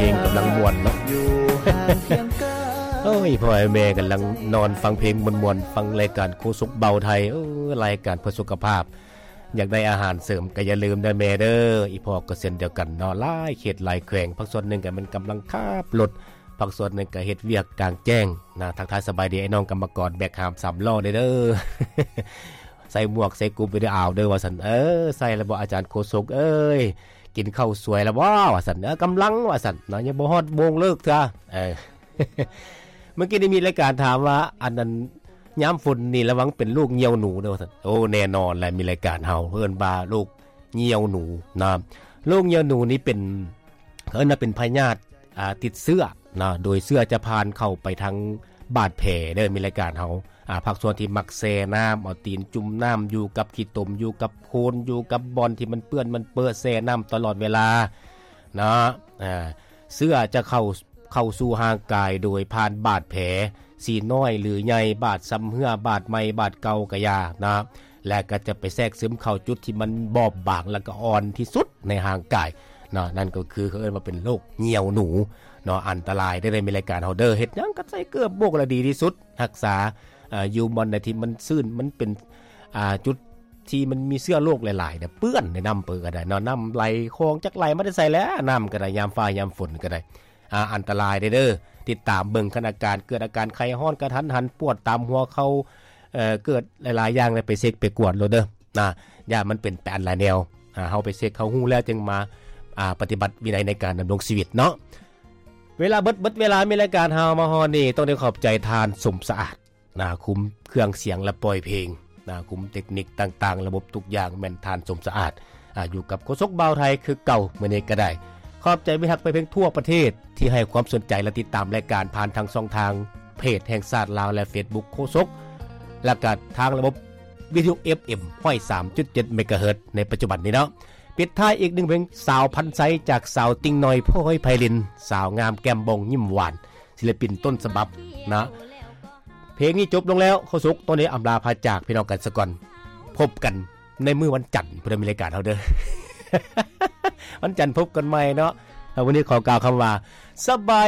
ເພງກຳລັງມ່ວນເນາະ. ໂອ້ຍ ພໍ່ແມ່ກຳລັງນອນຟັງເພງມ່ວນໆ ຟັງລາຍການໂຄສົກເບົາໄທ. ເອີ ລາຍການເພື່ອສຸຂະພາບ ຢາກໄດ້ອາຫານເສີມກໍຢ່າລືມເດີແມ່ເດີ. ອີ່ພໍ່ກໍເຊັ່ນດຽວກັນເນາະ ຫຼາຍເຂດຫຼາຍແຂວງ ພາກສ່ວນໜຶ່ງກໍແມ່ນກຳລັງຂັບລົດ ພາກສ່ວນໜຶ່ງກໍເຮັດວຽກກາງແຈ້ງນະ. ທັກທາຍສະບາຍດີໄອ້ນ້ອງກຳມະກອນແບກຫາມສາມລໍ້ເດີ. ໃສ່ໝວກໃສ່ກຸບໄວ້ເດີ ອາວເດີວ່າຊັ້ນ. ເອີ ໃສ່ແລ້ວບໍ່ອາຈານໂຄສົກເອີຍ ກິນເຂົ້າສວຍແລ້ວບໍ່ວ່າຊັ້ນ. ເອີ ກຳລັງວ່າຊັ້ນເນາະ ຍັງບໍ່ຮອດໂມງເລີກເທື່ອ. ເອີ ເມື່ອກີ້ນີ້ມີລາຍການຖາມວ່າ ອັນນັ້ນ ຍາມຝົນນີ້ລະວັງເປັນໂລກຍ່ຽວໜູເດີວ່າຊັ້ນ. ໂອ້ ແນ່ນອນແຫຼະ ມີລາຍການເຮົາເອີ້ນວ່າໂລກຍ່ຽວໜູນະ. ໂລກຍ່ຽວໜູນີ້ເປັນ ເອີ້ນວ່າເປັນພະຍາດ ອ່າ ຕິດເຊື້ອນະ ໂດຍເຊື້ອຈະຜ່ານເຂົ້າໄປທາງບາດແຜເດີ. ມີລາຍການເຮົາ ອ່າ ພາກສ່ວນທີ່ມັກແຊ່ນ້ຳ ເອົາຕີນຈຸ່ມນ້ຳ ຢູ່ກັບຂີ້ຕົມ ຢູ່ກັບໂຄນ ຢູ່ກັບບ່ອນທີ່ມັນເປື້ອນມັນເປິແຊ່ນ້ຳຕະຫຼອດເວລາເນາະ. ອ່າ ເຊື້ອຈະເຂົ້າ ເຂົ້າສູ່ຮ່າງກາຍໂດຍຜ່ານບາດແຜ ຊິນ້ອຍຫຼືໃຫຍ່ ບາດຊຳເຮື້ອ ບາດໃໝ່ ບາດເກົ່າກໍຢ່ານະ ແລະກໍຈະໄປແຊກຊຶມເຂົ້າຈຸດທີ່ມັນບອບບາງ ແລະກໍອ່ອນທີ່ສຸດໃນຮ່າງກາຍເນາະ. ນັ້ນກໍຄືເຂົາເອີ້ນວ່າເປັນໂລກຍ່ຽວໜູເນາະ. ອັນຕະລາຍເດີ ມີລາຍການເຮົາເດີ ເຮັດຫຍັງກໍໃສ່ເກີບໂບກລະດີທີ່ສຸດ ຮັກສາ ເອີ ຢູ່ບ່ອນໃດທີ່ມັນຊື້ນ ມັນເປັນ ອ່າ ຈຸດທີ່ມັນມີເຊື້ອໂລກຫຼາຍໆ ເປື້ອນໃນນ້ຳເປີກໍໄດ້ເນາະ. ນ້ຳໄຫຼ ຂອງຈັກໄຫຼມາແຕ່ໃສແຫຼະ ນ້ຳກໍໄດ້ ຍາມຟ້າຍາມຝົນກໍໄດ້. ອ່າ ອັນຕະລາຍເດີ ຕິດຕາມເບິ່ງຄັນອາການ ເກີດອາການໄຂ້ຮ້ອນກະທັນຫັນ ປວດຕາມຫົວເຂົ່າ ເອີ ເກີດຫຼາຍໆຢ່າງ ແລ້ວໄປເຊັກໄປກວດໂລດເດີນະ ຢ້ານມັນເປັນໄປອັນຫຼາຍແນວ. ອ່າ ເຮົາໄປເຊັກ ເຮົາຮູ້ແລ້ວຈຶ່ງມາ ອ່າ ປະຕິບັດວິໄນໃນການດຳລົງຊີວິດເນາະ. ເວລາເບິດ ເບິດເວລາ ມີລາຍການເຮົາມາຮອດນີ້ ຕ້ອງໄດ້ຂອບໃຈທ່ານສົມສະອາດ ນະ ຄຸມເຄື່ອງສຽງ ແລະ ປ່ອຍເພງນະ ຄຸມເຕັກນິກຕ່າງໆ ລະບົບທຸກຢ່າງແມ່ນທ່ານສົມສະອາດ ອ່າ ຢູ່ກັບໂຄສົກບ່າວໄທຄືເກົ່າ ມື້ນີ້ກໍໄດ້. ຂອບໃຈມິດຮັກແຟນເພງທົ່ວປະເທດ ທີ່ໃຫ້ຄວາມສົນໃຈ ແລະ ຕິດຕາມລາຍການຜ່ານທາງຊ່ອງທາງເພຈແຫ່ງຊາດລາວ ແລະ ເຟສບຸກໂຄສົກ ແລະ ກະທາງລະບົບວິທະຍຸ ເອັຟເອັມ ຮ້ອຍສາມຈຸດເຈັດ ເມກາເຮີດ ໃນປັດຈຸບັນນີ້ເນາະ. ປິດທ້າຍອີກໜຶ່ງເພງ ສາວພັນໄຊ ຈາກສາວຕິ່ງນ້ອຍ ໂພຍໄພລິນ ສາວງາມແກ້ມບ່ອງຍິ້ມຫວານ ສິລະປິນຕົ້ນສະບັບນະ. ເພງນີ້ຈົບລົງແລ້ວ ໂຄສົກຕ້ອງໄດ້ອຳລາພາຈາກພີ່ນ້ອງກັນສາກ່ອນ. ພົບກັນໃນມື້ວັນຈັນພຸ້ນ ມີລາຍການເຮົາເດີ ວັນຈັນພົບກັນໃໝ່ເນາະ. ແລ້ວວັນນີ້ຂໍກ່າວຄຳວ່າ ສະບາຍ